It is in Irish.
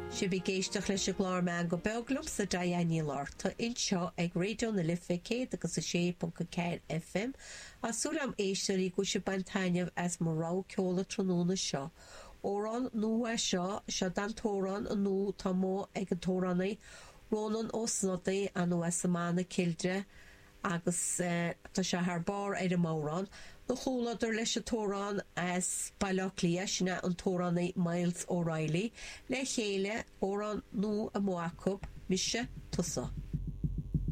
Sibh ag éisteacht leis an gclár Meangadh Beag liomsa Diane Ní Fhlatharta anseo ag Raidió na Life 106.4 FM. Tá súil agam a éisteoirí go bhfuil sibh ag baint taitneamh as mo rogha ceoil an tráthnóna seo. Amhrán nua é seo, seo an t-amhrán nua atá amuigh ag an t-amhránaí Rónán Ó Snodaigh, ar ndóigh as an mbanna Kildare, agus tá sé thar barr ar an amhrán. 'Na chomhluadar leis an t-amhrán as Baile Átha Cliath, sin é an t-amhránaí Myles O'Reilly. Le chéile, amhrán nua amuigh acu, Mise, Tusa.